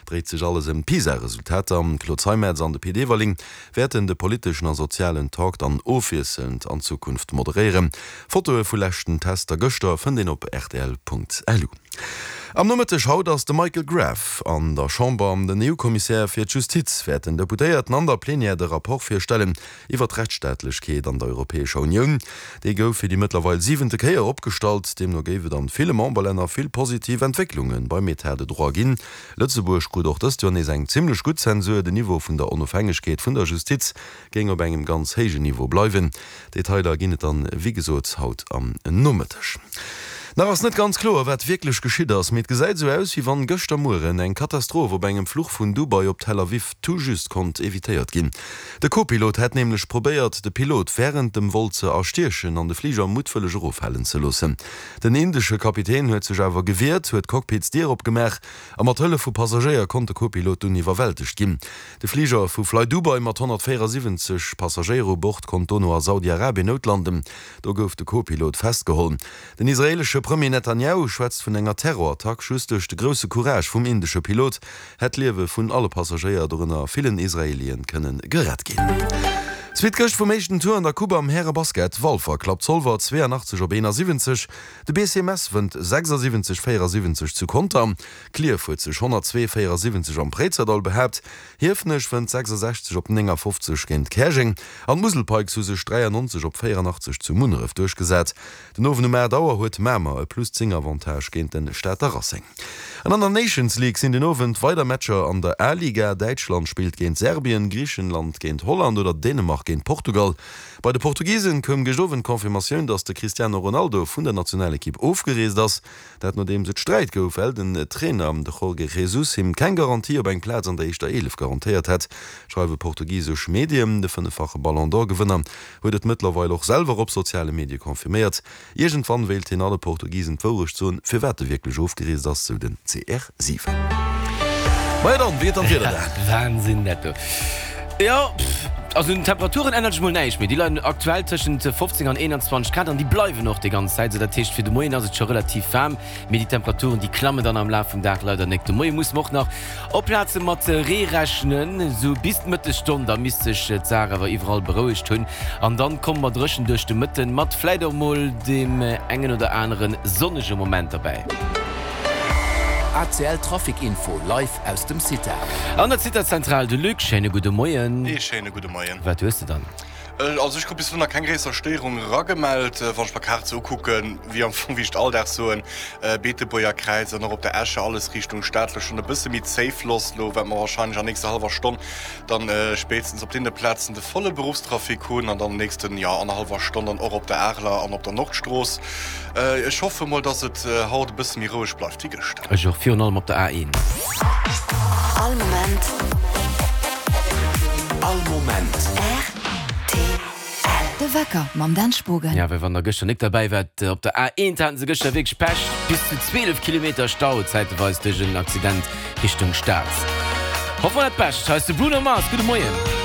dréit sech alles ëm d'PISA-Resultater. D'Claude Zeimetz an de Pit Everling wäerten de politeschen a sozialen Talk dann ofwiesselnd an Zukunft moderéieren. Fotoe vu leschten Tester gëschter fënnt een op rtl.lu. Am Nomëtteg haut ass de Michael Graf an der Chamber. Den EU-Kommissär fir d'Justiz wäert den Deputéierten an der Plenière de Rapport virstellen iwwer d'Rechtsstaatlechkeet an der Europäescher Unioun. Dee gouf fir déi mëttlerweil siwente Kéier opgestallt. Deemno géif et an ville Memberlänner vill positiv Entwécklunge beim Etat de droit ginn. Lëtzebuerg krut och dëst Joer nees eng zimmlech gutt Zensur. Den Niveau vun der Onofhängegkeet vun der Justiz géing op engem ganz héijen Niveau bleiwen. Detailer ginn et dann wéi gesot haut am Nomëtteg. Nach ass net ganz kloer wat wierklech geschitt ass, mee et gesäit esou aus wéi wann gëschter Mueren eng Katastroph op engem Fluch vun Dubai op Tel Aviv tout juste konnt evitéiert ginn. De Co-Pilot hätt nämlech probéiert de Pilot wärend dem Vol ze erstiechen an de Fliger muttwëlleg eroffalen ze loossen. Den indesche Kapitän huet sech awer gewiert, huet d'Cockpitsdier opgemaach a mat Hëllef vu Passagéier konnt de Co-Pilot dunn iwwerwältegt ginn. De Fliger vu Flydubai mat 174 Passagéier u Bord konnt dono a Saudi-Arabien noutlanden. Do gouf de Co-Pilot festgeholl. Den israeelesche Premier Netanjahu schwätzt vun enger Terrorattack. Just duerch de grousse Courage vum indesche Pilot hätt d'Liewe vun alle Passagéier, dorënner villen Israeelien, kënne gerett ginn. Suite gëscht vum éischten Tour an der Coupe am Härebasket, Walfer klappt Zolwer 82 op 71, de BC Mess wënnt 76 74 zu Conter. Klierf huet sech 102, 74 am Préizerdaul behaapt, Hiefenech wënnt 66 op 59 géint Käerjeng an d'Musel Pikes hu sech 93 op 84 zu Munneref duerchgesat. Den Owend um 8 Auer huet Mamer e plus 10 Avantage géint de Stater Racing. An an der Nations League sinn den Owend weider Matcher an der A-Liga, Däitschland spillt géint Serbien, Griichenland géint Holland oder Dänemark géint Portugal. Bei de Portugisen koum gëscht Owend d'Confirmatioun, datt de Cristiano Ronaldo vun der Nationalekipp ofgereest ass. Dat nodeems et Sträit gouf, well den Trainer, de Jorge Jesus, him keng Garantie op eng Plaz an der éischter 11 garantéiert hätt, schreiwe portugisesch Medien. De fënneffache Ballon d'Or-Gewënner huet et mëttlerweil och selwer op soziale Medie confirméiert. Iergendwann wéilt hien alle Portugisen d'Wourecht soen, firwat e wierklech ofgereest ass, sou den CR7. Maja dann, wéi geet dann d'Wieder da? Wahnsinn dat do. Jo, also un den Temperaturen ännert sech mol näischt méi. Déi leien aktuell tëschent 15 an 21 Grad an déi bleiwen och déi ganz Zäit esou. Dat heescht, fir de Moien ass et scho relativ waarm, mee déi Temperaturen, déi klammen dann am Laf vum Dag leider nek. De Moie musse mer och nach op Plaze mat Ree rechnen, esou bis d'Mëttesstonn. Da misst sech d'Saach awer iwwerall berouegt hunn an dann komme mer dréchen duerch de Mëtten, mat vläit och mol deem engen oder anere sonnege Moment derbäi. ACL Trafic Info live aus dem CITA. An der CITA-Zentral de Luc, schéine gudde Moien. Ee schéine gudde Moien. Wat hues de dann? Also ech krut bis elo nach keng gréisser Stéierung eragemellt. Wann ech mer d'Kaart sou ukucken, wéi am Fong wéi ech et all Dag soen, Beetebuerger Kräiz an och op der Escher alles Richtung Stad elo schonn e bësse méi zéi Floss elo, wat mer warscheinlech an nächster hallwer Stonn dann spéitstens op deene Plazen de volle Beruffstrafic hunn an dann nächsten, jo, annerhallwer Stonn dann och op der Areler an op der Nordstrooss. Ech hoffe mol, dass et haut e bësse méi roueg bleift wéi gëschter. Ech och, virun allem op der A1. All Moment. All Moment. Rtl. De Wecker mam Dan Spogen. Ja, well wann der gëschter nik derbäi waart, op der A1 haten se gëschter wierklech Pech, bis zu 12 Kilometer Stau zäiteweis duerch en Accident Richtung Stad. Hoffe mer dat Bescht. Hei ass de Bruno Mars, gudde Moien.